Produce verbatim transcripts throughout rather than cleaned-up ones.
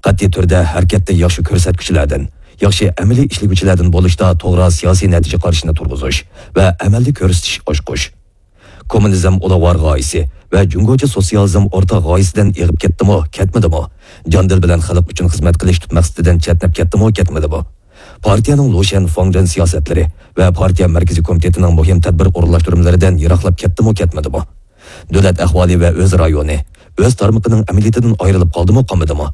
قەتئىي تۈردە ھەرىكەتتە ياخشى كۆرسەتكۈچىلەردىن، ياخشى ئەمەلىي ئىشلىگۈچىلەردىن بولۇشتا توغرا سىياسىي نەتىجە قارىشىنى تۇرغۇزۇش ۋە ئەمەلدە كۆرسىتىش ئاچقۇچ. كوممۇنىزم ئۇلۇغۋار غايىسى ۋە جۇڭگوچە سوتسىيالىزم ئورتاق غايىسىدىن ئېغىپ كەتتىمۇ، كەتمىدىمۇ؟ جان-دىل بىلەن خەلق ئۈچۈن خىزمەت قىلىش تۈپ مەقسىتىدىن چەتنەپ كەتتىمۇ، كەتمىدىمۇ؟ پارتىيەنىڭ لۇشيەن فاڭجېن سىياسەتلىرى ۋە پارتىيە مەركىزىي كومىتېتىنىڭ مۇھىم تەدبىر ئورۇنلاشتۇرمىلىرىدىن يىراقلاپ كەتتىمۇ، كەتمىدىمۇ؟ دۆلەت ئەھۋالى ۋە ئۆز رايونى، ئۆز تارمىقىنىڭ ئەمەلىيىتىدىن ئايرىلىپ قالدىمۇ، قالمىدىمۇ؟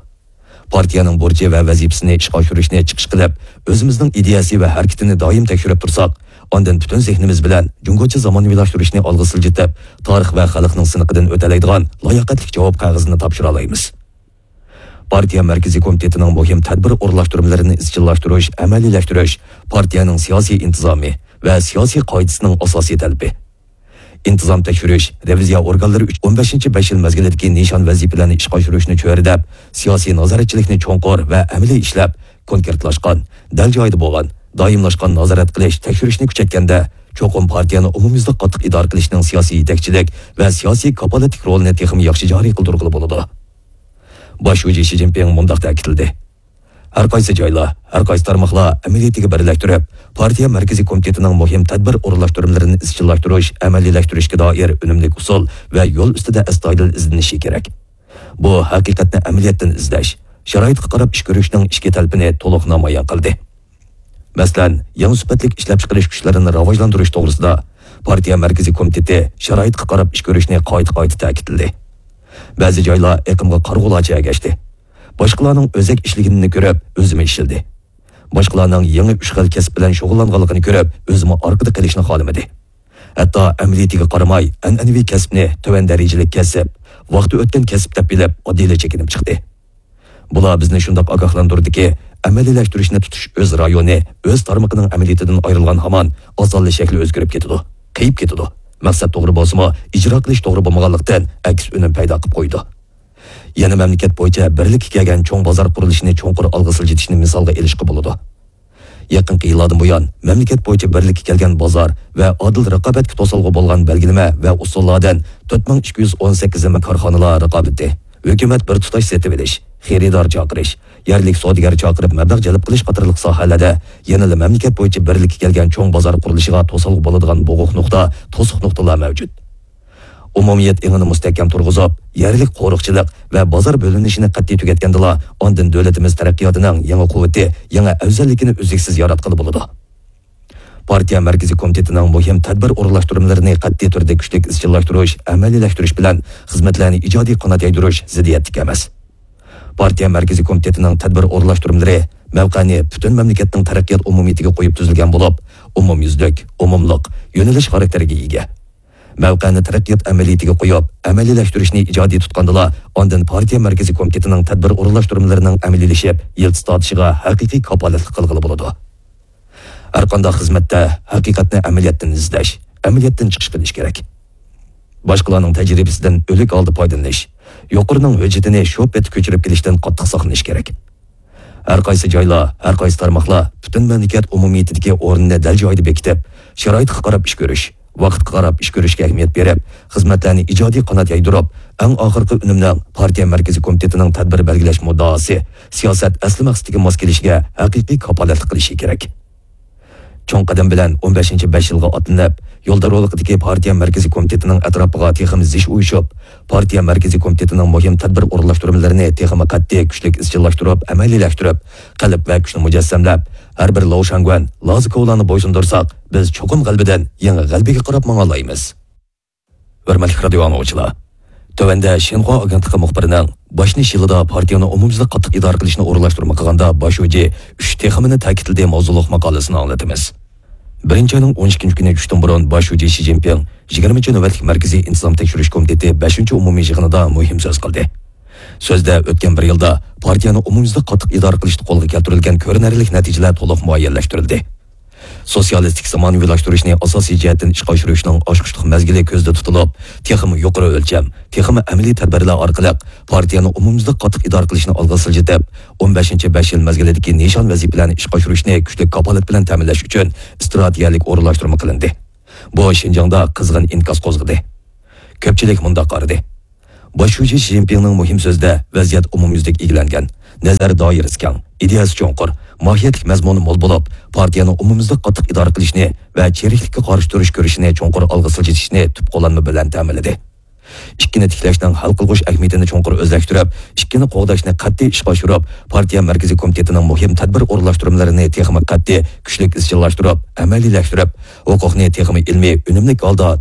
پارتىيەنىڭ بۇرچى ۋە ۋەزىپىسىنى ئىشقا ئاشۇرۇشنى چىقىش قىلىپ، ئۆزىمىزنىڭ ئىدىيەسى ۋە ھەرىكىتىنى دائىم تەكشۈرۈپ تۇرساق، ئاندىن پۈتۈن زېھنىمىز بىلەن جۇڭگوچە زامانىۋىلاشتۇرۇشنى ئالغا سىلجىتىپ، تارىخ ۋە خەلقنىڭ سىنىقىدىن ئۆتەلەيدىغان لاياقەتلىك جاۋاب قەغىزىنى تاپشۇرالايمىز. پارتىيە مەركىزىي كومىتېتىنىڭ مۇھىم تەدبىر ئورۇنلاشتۇرمىلىرىنى ئىزچىللاشتۇرۇش، ئەمەلىيلەشتۈرۈش پارتىيەنىڭ سىياسىي ئىنتىزامى ۋە سىياسىي قائىدىسىنىڭ ئاساسىي تەلىپى. ئىنتىزام تەكشۈرۈش، رېۋىزىيە ئورگانلىرى ئۈچۈن ئون بەشىنچى بەش يىل مەزگىلىدىكى نىشان ۋەزىپىلەرنى ئىشقا ئاشۇرۇشنى چۆرىدەپ، سىياسىي نازارەتچىلىكنى چوڭقۇر ۋە ئەمەلىي ئىشلەپ، كونكرېتلاشقان، دەل جايىدا بولغان، دائىملاشقان نازارەت قىلىش، تەكشۈرۈشنى كۈچەيتكەندە، چوقۇم پارتىيەنى ئومۇميۈزلۈك قاتتىق ئىدارە قىلىشنىڭ سىياسىي يېتەكچىلىك ۋە سىياسىي كاپالەتلىك رولىنى تېخىمۇ ياخشى جارى قىلدۇرغىلى بولىدۇ. باش شۇجى شى جىنپىڭ مۇنداق تەكىتلىدى: ھەر قايسى جايلار، ھەر قايسى تارماقلار ئەمەلىيىتىگە بىرلەشتۈرۈپ، پارتىيە مەركىزىي كومىتېتىنىڭ مۇھىم تەدبىر ئورۇنلاشتۇرمىلىرىنى ئىزچىللاشتۇرۇش، ئەمەلىيلەشتۈرۈشكە دائىر ئۈنۈملۈك ئۇسۇل ۋە يول ئۈستىدە ئەستايىدىل ئىزدىنىشى كېرەك. بۇ ھەقىقەتنى ئەمەلىيەتتىن ئىزدەش، شارائىتقا قاراپ ئىش كۆرۈشنىڭ ئىچكى تەلىپىنى تولۇق نامايان قىلدى. مەسىلەن، يېڭى سۈپەتلىك ئىشلەپچىقىرىش كۈچلىرىنى راۋاجلاندۇرۇش توغرىسىدا پارتىيە مەركىزىي كومىتېتى شارائىتقا قاراپ ئىش كۆرۈشنى قايتا-قايتا تەكىتلىدى. بەزى جايلار ئېقىمغا قارىغۇلارچە ئەگەشتى. باشقىلارنىڭ ئۆزەك ئىشلىگىنىنى كۆرۈپ، ئۆزىمۇ ئىشلىدى. باشقىلارنىڭ يېڭى ئۈچ خىل كەسىپ بىلەن شۇغۇللانغانلىقىنى كۆرۈپ، ئۆزىمۇ ئارقىدا قېلىشنى خالىمىدى. ھەتتا ئەمەلىيىتىگە قارىماي، ئەنئەنىۋى كەسىپنى تۆۋەن دەرىجىلىك كەسىپ، ۋاقتى ئۆتكەن كەسىپ دەپ بىلىپ، ئاددىيلا چېكىنىپ چىقتى. بۇلار بىزنى شۇنداق ئاگاھلاندۇردىكى، ئەمەلىيلەشتۈرۈشنى تۇتۇش ئۆز رايونى، ئۆز تارمىقىنىڭ ئەمەلىيىتىدىن ئايرىلغان ھامان، ئاسانلا شەكلى ئۆزگىرىپ كېتىدۇ، قېيىپ كېتىدۇ. مەقسەت توغرا بولسىمۇ، ئىجرا قىلىش توغرا بولمىغانلىقتىن، ئەكس ئۈنۈم پەيدا قىلىپ قويىدۇ. يەنە مەملىكەت بويىچە بىرلىككە كەلگەن چوڭ بازار قۇرۇلۇشىنى چوڭقۇر ئالغا سىلجىتىشنى مىسالغا ئېلىشقا بولىدۇ. يېقىنقى يىللاردىن بۇيان، مەملىكەت بويىچە بىرلىككە كەلگەن بازار ۋە ئادىل رىقابەتكە توسالغۇ بولغان بەلگىلىمە ۋە ئۇسۇللاردىن تۆت مىڭ ئىككى يۈز ئون سەككىز نېمە كارخانىلار رىقابىتى، ھۆكۈمەت بىر تۇتاش سېتىۋېلىش، خېرىدار چاقىرىش، يەرلىك سودىگەر چاقىرىپ مەبلەغ جەلپ قىلىش قاتارلىق ساھەلەردە يەنىلا مەملىكەت بويىچە بىرلىككە كەلگەن چوڭ بازار قۇرۇلۇشىغا توسالغۇ بولىدىغان بوغۇق نۇقتا، توسۇق نۇقتىلار مەۋجۇت. ئومۇمىيەت ئېڭىنى مۇستەھكەم تۇرغۇزۇپ، يەرلىك قورۇقچىلىق ۋە بازار بۆلۈنۈشىنى قەتئىي تۈگەتكەندىلا، ئاندىن دۆلىتىمىز تەرەققىياتىنىڭ يېڭى قۇۋۋىتى، يېڭى ئەۋزەللىكىنى ئۈزلۈكسىز ياراتقىلى بولىدۇ. پارتىيە مەركىزىي كومىتېتىنىڭ مۇھىم تەدبىر ئورۇنلاشتۇرمىلىرىنى قەتئىي تۈردە كۈچلۈك ئىزچىللاشتۇرۇش، ئەمەلىيلەشتۈرۈش بىلەن خىزمەتلەرنى ئىجادىي قانات يايدۇرۇش زىددىيەتلىك ئەمەس. پارتىيە مەركىزىي كومىتېتىنىڭ تەدبىر ئورۇنلاشتۇرمىلىرى مەۋقەنى پۈتۈن مەملىكەتنىڭ تەرەققىيات ئومۇمىيىتىگە قويۇپ تۈزۈلگەن بولۇپ، ئومۇميۈزلۈك، ئومۇملۇق، يۆنىلىش خاراكتېرىگە ئىگە. مەۋقەنى تەرەققىيات ئەمەلىيىتىگە قويۇپ، ئەمەلىيلەشتۈرۈشنى ئىجادىي تۇتقاندىلا، ئاندىن پارتىيە مەركىزىي كومىتېتىنىڭ تەدبىر ئورۇنلاشتۇرمىلىرىنىڭ ئەمەلىيلىشىپ، يىلتىز تارتىشىغا ھەقىقىي كاپالەتلىك قىلغىلى بولىدۇ. ھەرقانداق خىزمەتتە ھەقىقەتنى ئەمەلىيەتتىن ئىزدەش، ئەمەلىيەتتىن چىقىش قىلىش كېرەك. باشقىلارنىڭ تەجرىبىسىدىن ئۆلۈك ھالدا پايدىلىنىش، يۇقىرىنىڭ ھۆججىتىنى شۇ پېتى كۆچۈرۈپ كېلىشتىن قاتتىق ساقلىنىش كېرەك. ھەر قايسى جايلار، ھەر قايسى تارماقلار پۈتۈن مەملىكەت ئومۇمىيىتىدىكى ئورنىنى دەل جايىدا بېكىتىپ، شارائىتقا قاراپ ئىش كۆرۈش، ۋاقىتقا قاراپ ئىش كۆرۈشكە ئەھمىيەت بېرىپ، خىزمەتلەرنى ئىجادىي قانات يايدۇرۇپ، ئەڭ ئاخىرقى ئۈنۈمنىڭ پارتىيە مەركىزىي كومىتېتىنىڭ تەدبىر بەلگىلەش مۇددىئاسى، سىياسەت ئەسلى مەقسىتىگە ماس كېلىشىگە ھەقىقىي كاپالەتلىك قىلىشى كېرەك. چوڭ قەدەم بىلەن ئون بەشىنچى بەش يىلغا ئاتلىنىپ، يولدارۋۇلۇقىدىكى پارتىيە مەركىزىي كومىتېتىنىڭ ئەتراپىغا تېخىمۇ زىچ ئۇيۇشۇپ، پارتىيە مەركىزىي كومىتېتىنىڭ مۇھىم تەدبىر ئورۇنلاشتۇرمىلىرىنى تېخىمۇ قەتئىي، كۈچلۈك ئىزچىللاشتۇرۇپ، ئەمەلىيلەشتۈرۈپ، قەلب ۋە كۈچنى مۇجەسسەملەپ، ھەر بىر لوۋشاڭگۈەن، لازىكوۋلارنى بويسۇندۇرساق، بىز چوقۇم غەلىبىدىن يېڭى غەلىبىگە قاراپ ماڭالايمىز. ھۆرمەتلىك رادىيو ئاڭلىغۇچىلار، تۆۋەندە شىنخۇا ئاگېنتلىقى مۇخبىرىنىڭ «باش نىش يىلىدا پارتىيەنى ئومۇميۈزلۈك قاتتىق ئىدارە قىلىشنى ئورۇنلاشتۇرما قىلغاندا باش شۇجى ئۈچ تېخىمىنى تەكىتلىدى» ماۋزۇلۇق ماقالىسىنى ئاڭلىتىمىز. بىرىنچى ئاينىڭ ئون ئىككىنچى كۈنى چۈشتىن بۇرۇن باش شۇجى شى جىنپىڭ يىگىرمىنچى نۆۋەتلىك مەركىزىي ئىنتىزام تەكشۈرۈش كومىتېتى بەشىنچى ئومۇمىي يىغىنىدا مۇھىم سۆز قىلدى. سۆزدە ئۆتكەن بىر يىلدا پارتىيەنى ئومۇميۈزلۈك قاتتىق ئىدارە قىلىشتا قولغا كەلتۈرۈلگەن كۆرۈنەرلىك نەتىجىلەر تولۇق مۇئەييەنلەشتۈرۈلدى. سوتسىيالىستىك زامانىۋىلاشتۇرۇشنى ئاساسىي جەھەتتىن ئىشقا ئاشۇرۇشنىڭ ئاچقۇچلۇق مەزگىلى كۆزدە تۇتۇلۇپ، تېخىمۇ يۇقىرى ئۆلچەم، تېخىمۇ ئەمەلىي تەدبىرلەر ئارقىلىق پارتىيەنى ئومۇميۈزلۈك قاتتىق ئىدارە قىلىشنى ئالغا سىلجىتىپ، ئون بەشىنچى بەش يىل مەزگىلىدىكى نىشان ۋەزىپىلەرنى ئىشقا ئاشۇرۇشنى كۈچلۈك كاپالەت بىلەن تەمىنلەش ئۈچۈن ئىستراتېگىيەلىك ئورۇنلاشتۇرما قىلىندى. بۇ شىنجاڭدا قىزغىن ئىنكاس قوزغىدى. كۆپچىلىك مۇنداق قارىدى: باش شۇجى شى جىنپىڭنىڭ مۇھىم سۆزىدە ۋەزىيەت ئومۇميۈزلۈك ئىگىلەنگەن، نەزەر دائىرىسى كەڭ، ئىدىيەسى چوڭقۇر، ماھىيەتلىك مەزمۇنى مول بولۇپ، پارتىيەنى ئومۇميۈزلۈك قاتتىق ئىدارە قىلىشنى ۋە چىرىكلىككە قارشى تۇرۇش كۈرىشىنى چوڭقۇر ئالغا سىلجىتىشنى تۈپ قوللانما بىلەن تەمىنلىدى. ئىككىنى تىكلەشنىڭ ھەل قىلغۇچ ئەھمىيىتىنى چوڭقۇر ئۆزلەشتۈرۈپ، ئىككىنى قوغداشنى قەتئىي ئىشقا ئاشۇرۇپ، پارتىيە مەركىزىي كومىتېتىنىڭ مۇھىم تەدبىر ئورۇنلاشتۇرمىلىرىنى تېخىمۇ قەتئىي، كۈچلۈك ئىزچىللاشتۇرۇپ، ئەمەلىيلەشتۈرۈپ، ھوقۇقنى تېخىمۇ ئىلمىي، ئۈنۈملۈك ھالدا